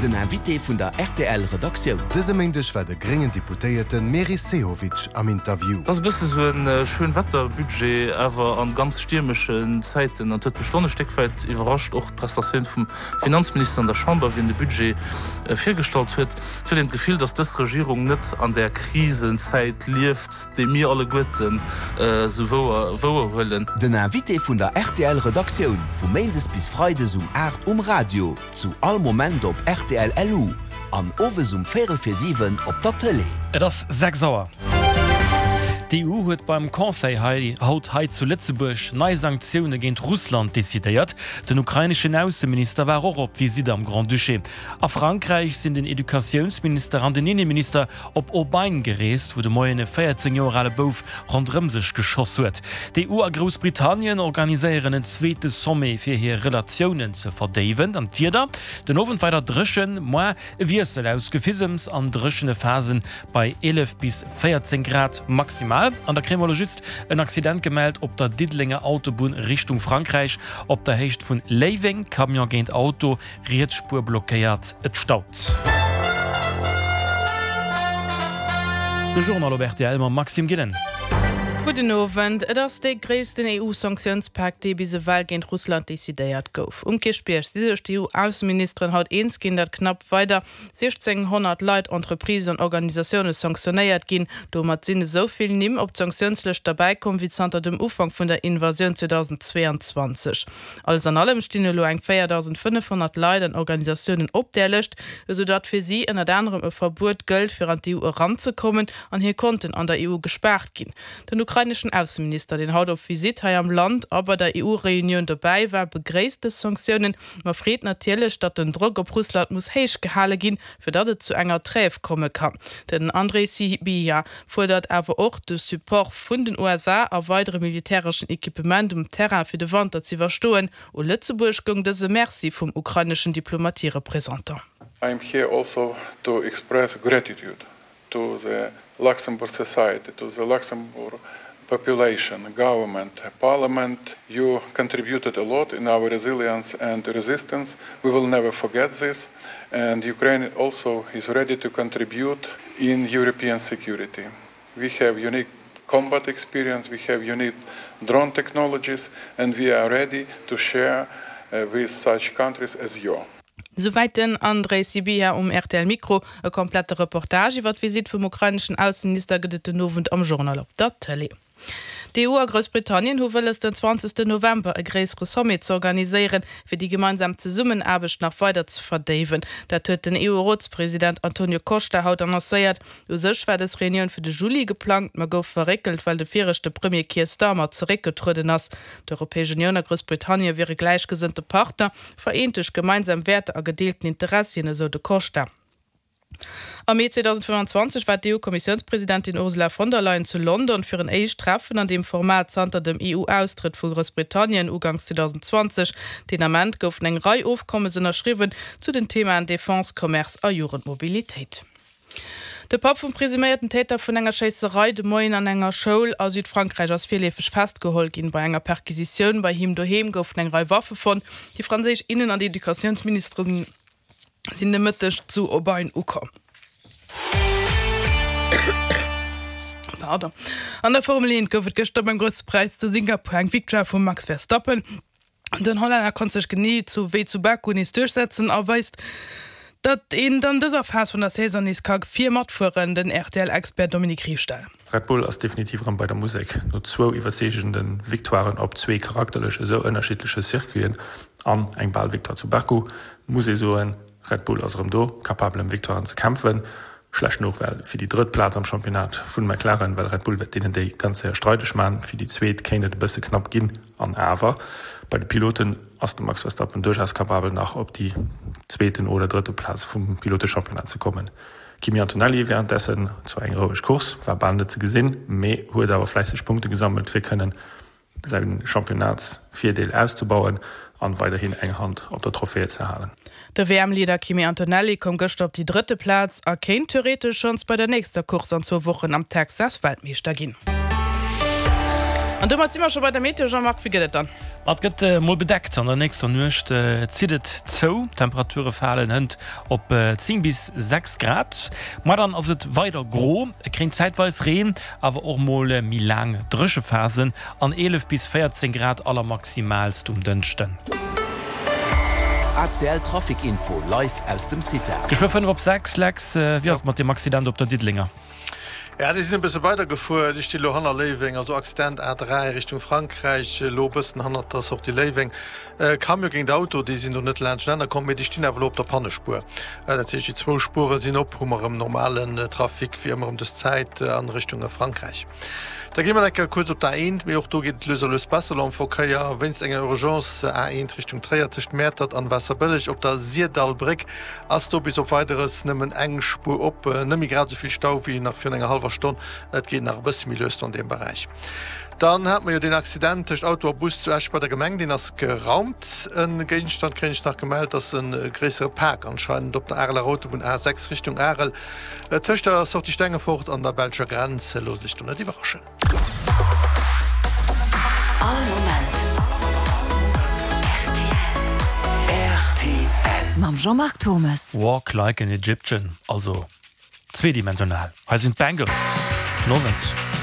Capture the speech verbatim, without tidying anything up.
Den Invité vun der rtl Redaktioun. Dëse Méindeg war de gréngen Deputéierte Meris Sehovic am Interview. Et ass e bësse sou en Schönwetterbudget, awer an ganz stiermeschen Zäiten. An et huet mech schonn e Stéck wäit iwwerrascht, och d'Prestatioun vum Finanzminister an der Chamber, wéi en de Budget virgestallt huet. Et huet een d'Gefill, datt dës Regierung net an där Krisenzäit lieft, déi mir alleguerten esou wouer huelen. Den Invité vun der rtl Redaktioun, vu Méindes bis Freides um aacht um Radio, zu all Moment op rtl LU an owes um véierel vir siwen op der Tëlee. Et ass sechs Auer. D'EU huet beim Conseil hei haut hei zu Lëtzebuerg nei Sanktioune géint Russland decidéiert. Den ukraineschen Ausseminister war och op Visitt am Grand-Duché. A Frankräich sinn den Educatiounsminister an den Inneminister op Aubagne gereest, wou de Moien e véierzéng Joer ale Bouf ronderëm sech geschoss huet. D'EU a Groussbritannien organiséieren en zweete Sommet fir hir Relatiounen ze verdéiwen. An d'Wieder, Den Owend weider dréchen, moar e Wiessel aus Gefisems an dréchene Phasen bei eelef bis véierzéng Grad maximal. An da kréie mer elo just en Accident gemellt op der Diddelenger Autobunn Richtung Frankräich op der Héicht vun Léiweng, Camion géint Auto, Riets Spuer blockéiert, et staut. De Journal op rtl mam Maxime Gillen. Gudden Owend. Et ass dee gréissten E U-Sanktiounspak, dee bis ewell géint Russland decidéiert gouf. Um Kierchbierg si sech d'E U-Ausseministeren haut eens ginn, datt knapp weider siechzénghonnert Leit, Entreprisen an Organisatioune sanktionéiert ginn. Domat sinn esou vill Nimm op d'Sanktiounslëscht derbäi komm, wéi zanter dem Ufank vun der Invasioun zweedausendzweeanzwanzeg. Alles an allem stinn elo eng véierdausendfënnefhonnert Leit an Organisatiounen op där Lëscht, esou datt fir si ënnert anerem e Verbuet gëllt, fir an d'E U eranzekommen an hir Konten an der E U gespaart ginn. Den ukraineschen Ausseminister, deen haut op Visitt hei am Land a bei der E U-Reunioun dobäi war, begréisst dës Sanktiounen, ma freet natierlech, datt den Drock op Russland muss héich gehale ginn, fir datt et zu enger Trêve komme kann. Den Andrei Sybiha fuerdert awer och de Support vun den U S A a weidere militäreschen Equipement um Terrain fir de Wanter z'iwwerstoen. U Lëtzebuerg goung dëse Merci vum ukraineschen Diplomatie-Représentant. I am here also to express gratitude to the Luxembourg society, to the Luxembourg population, government, parliament. You contributed a lot in our resilience and resistance. We will never forget this. And Ukraine also is ready to contribute in European security. We have unique combat experience, we have unique drone technologies, and we are ready to share with such countries as you. Souwäit den Andrei Sybiha um rtl Mikro. E komplette Reportage iwwer d'Visitt vum ukraineschen Ausseminister gëtt et den Owend am Journal op der Tëlee. D'E U a Groussbritannien hu wëlles den zwanzegsten November e gréissere Sommet z'organiséieren, fir déi gemeinsam Zesummenaarbecht nach weider ze verdéiwen. Dat huet den E U-Rotspresident Antonio Costa haut annoncéiert. U sech war dës Reunioun fir de Juli geplangt, ma gouf verréckelt, well de viregte Premier Keir Starmer zeréckgetrueden ass. D'Europäesch Unioun a Groussbritannien wiere gläichgesënnte Partner, vereent duerch gemeinsam Wäerter a gedeelten Interessien, esou de Costa. Am Mee zweedausendfënnfanzwanzeg war d'E U-Kommissiounspresidentin Ursula von der Leyen zu London fir en éischt Treffen an deem Format zanter dem E U-Austrëtt vu Groussbritannien uganks zweedausendenzwanzeg. Deen Ament goufen eng Rei Ofkommes ënnerschriwwen zu den Themaen Defense, Commerce a Jugendmobilitéit. De Papp vum presuméierten Täter vun enger Schéisserei de Moien an enger Schoul a Südfrankräich ass virleefeg festgeholl ginn. Bei enger Perquisitioun bei him doheem goufen eng Rei Waffe fonnt. Déi franséisch Innen an Educatiounsministere sinn de Mëtteg zu Aubagne ukomm. Pardon. An der Formel eent gouf et gëschter beim Grousse Präis zu Singapur eng Victoire vum Max Verstappen. Den Hollänner konnt sech genee zu wéi zu Baku nees duerchsetzen a weist, datt een an dëser Phas vun der Saison nees ka vir matfueren, den R T L-Expert Dominique Riefstahl. Red Bull ass definitiv erëm bei der Musek. No zwou iwwerzeegende Victoiren op zwee charakterlech esou ënnerschiddleche Circuiten an eng bal Victoire zu Baku, muss ee soen, Red Bull ass erëm do, capabel ëm Victoiren ze kämpfen. Schlecht Nouvelle fir déi drëtt Plaz am Championnat vun McLaren, well Red Bull wäert deenen déi ganz séier streideg man. Fir déi zweet kéint et e bësse knapp ginn. An awer, bei de Piloten ass de Max Verstappen duerchaus capabel nach op déi zweeten oder drëtte Plaz vum Pilotechampionnat ze kommen. Kimi Antonelli währenddessen zwar eng roueg Course, war bal net ze gesinn, mee huet awer fläisseg Punkte gesammelt fir kënnen säi Championnats-Virdeel auszebauen an weiderhin eng Hand op der Trophäe ze halen. De W M-Leader Kimi Antonelli koum gëschter op déi drëtte Plaz a kéint theoretesch schonns bei der nächster Course an zwou Wochen am Texas Weltmeeschter ginn. An domat si mer scho bei der Meteo, Jean-Marc, wéi gëtt et dann? Ma et gëtt mol bedeckt, an der nächster Nuecht zitt et zou, d'Temperature falen hënt op zéng bis sechs Grad. Moar dann ass et weider gro, et kréint zäitweis Reen, awer och mol méi laang Dréchephasen an eelef bis véierzéng Grad allermaximaalst um Dënschden. A C L Trafic Info live aus dem CITA. Geschwë fënnef op sechs, Lex, wéi ass et mat deem Accident op der Diddelenger? Ja, déi sinn e bësse weider gefuer. Déi sti lo hanner Léiweng, also Accident A dräi Richtung Frankräich, elo e bëssen hannert der Sortie Léiweng. Camion géint Auto, déi sinn do net laanschtenaner komm, mee déi stinn awer elo op der Pannespuer. Dat heescht, déi zwou Spuere sinn op, hu mer erëm normalen Trafic wéi ëmmer ëm dës Zäit a Richtung Frankräich. Da gi mer eng Kéier kuerz op d'A eent, mee och do geet et lues a lues besser elo am Verkéier. Wéinst enger Urgence A eent Richtung Tréier tëscht Mäertert an Waasserbëlleg op der Syrdallbréck ass do bis op Weideres nëmmen eng Spuer op. Net méi grad esou vill Stau wéi nach virun enger hallwer Stonn. Et geet nach e bësse méi lues do an deem Beräich. Dann hate mer jo deen Accident tëscht Auto a Bus zu Esch bei der Gemeng, deen ass geraumt. E Géigenstand kréien ech nach gemellt, dass e gréissere Pak anscheinend op der Areler Autobunn A sechs Richtung Arel tëscht der Sortie Stengefort an der belscher Grenz. Loosst Iech do net iwwerraschen. All Moment rtl. Mam Jean-Marc Thurmes. Walk like an Egyptian, also zweedimensional. Hei sinn d'Bangles. Gudden Owend.